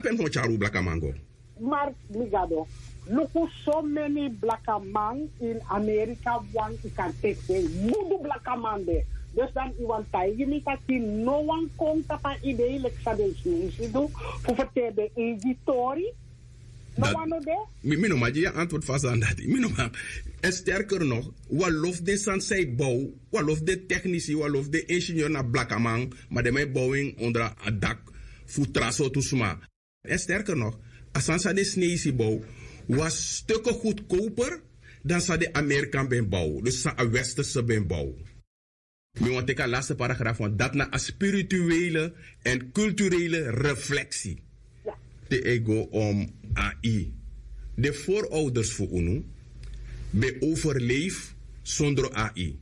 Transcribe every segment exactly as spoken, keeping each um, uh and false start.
Pe mi kon tyari un blakaman go? Mar mi gado, luku, so meni blakaman ini Amerika, wan yu kan teki den gudu blakaman de. Dus dan yu wani taigi mi taki no wan kon tapu a idei leki san den Sneisi du, fu ferteri den eigi tori? No wan no de. Mi no man gi yu a antwoord fu a sani dati. Mi no man. En sterker nog, wan lo fu den sani san yu bow, wan lo fu den teknisi, wan lo fu den ingenieur na blakaman, ma den man e bow en onder a dak fu tra sortu sma. En sterker nog, a sani san den Sneisi bow was stukken goedkoper dan san den Amerikan ben bow, dus san a Westerse ben bow. Mi wani teki a laste paragraaf, want dati na a spirituele en culturele reflectie. Te e go om A I. Den voorouders fu unu ben overleef sondro A I.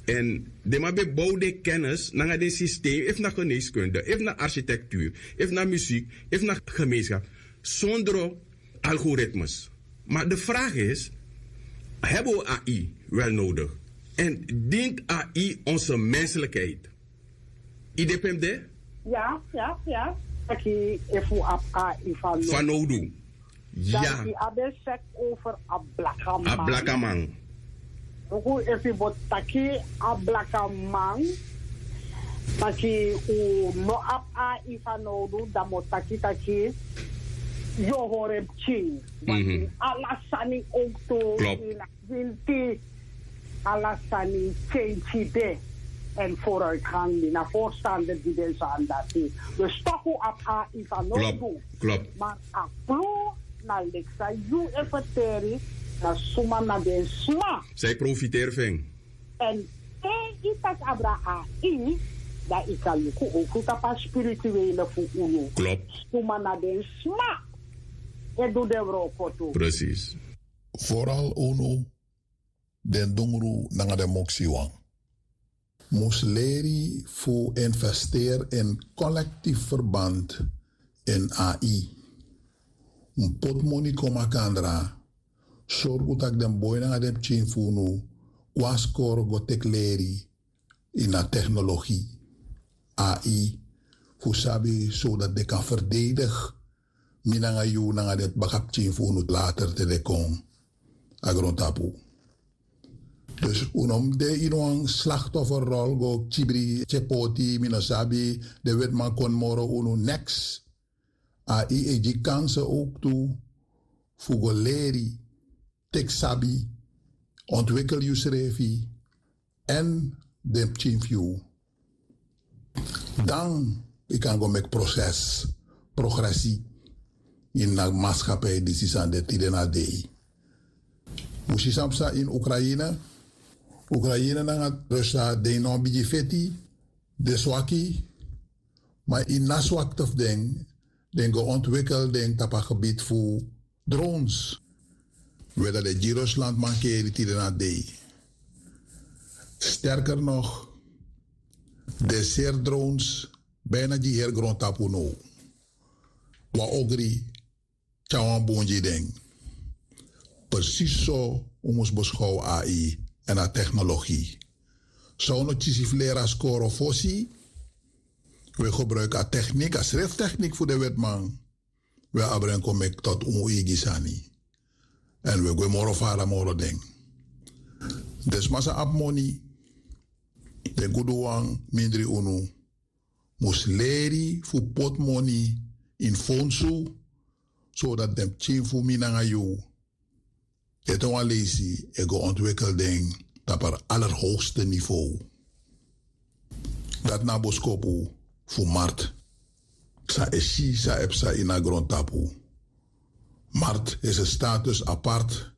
En den man ben bow den kennis nanga den systeem, efu na geneeskunde, efu na architectuur, efu na muziek, efu na gemeenschap, sondro algoritmes. Maar de vraag is, hebben we A I wel nodig? En dient A I onze menselijkheid? Yu de pe mi de? Ya, ya, ya. Taki efu abi A I fanowdu. Fanowdu. Dan yu abi sek over a blakaman. A blakaman. Luku, efu yu bo taki a blakaman, taki un no abi A I fanowdu, dan mi o taki taki yu o hori en pikin. Want ala sani owktu, ini a winti, ala sani kenki de. En vooruitgang, mi na voorstander di den sani dati. Dus toch un abi A I fanowdu. Klopt. Maar a klu na leki san yu e ferteri, na suma na den sma san e profiteri fu en. En te yu taki abra A I, dan yu kan luku owktu tapu a spirituele fu unu. Klopt. Suma na den sma e du den wroko tu. Precies. Vooral unu den dungru nanga den moksiwan mus leri fu investeri in collectief verband in A I. Un poti moni kon makandra, sorgu taki den boi nanga den pikin fu unu go na skoro go teki leri ini a teknologi, A I, fu sabi, zodat den kan verdedig mi nanga yu nanga den bakapikin fu unu later te den kon a grontapu. Dus un no mus de ini wan slachtofferrol go kibri tyepoti, mi no sabi, den wetiman kon moro unu, neks. A I e gi kansen owktu fu go leri, teki sabi, ontwikel yusrefi en den pikin fu yu. Dan yu kan go meki proses, progresi ini a maskapei disi san de tide na dei. Un si san psa ini Ukraine. Ukraine nanga Rusland den no bigi feti, den swaki. Ma ini a swakte fu den, den go ontwikel den tapu a gebied fu drones. We dan den gi Rusland mankeri tide na dei. Sterker nog, den seri drones bijna gi heri grontapu now. Wan ogri tyari wan bun gi den. Precies so un mus beschouw A I en a technologie. San un no kisi fu leri a skoro fosi, we gebruik a techniek, a schriftechniek fu den wetiman. We abra en kon meki tot un eigi sani. En we gwe moro fara moro den. Den sma san abi moni, den guduwan mindri unu, mus leri fu poti moni ini fonsu, zodat den pikin fu mi nanga yu ete wan leisi e go ontwikel den tapu a allerhoogste niveau. Dati na a boskopu fu Mart. San e si san e psa ini a grontapu. Mart is een status apart.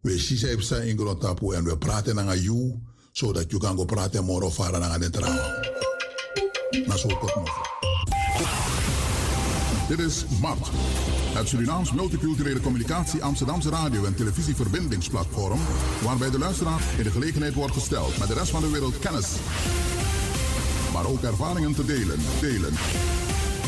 We si san e psa ini grontapu en we prati nanga yu, zodat yu kan go prati moro fara nanga den trawan. Na so kort moro. Dit is Mart, het Surinaams multiculturele communicatie Amsterdamse radio- en televisieverbindingsplatform, waarbij de luisteraar in de gelegenheid wordt gesteld met de rest van de wereld kennis, maar ook ervaringen te delen. Delen.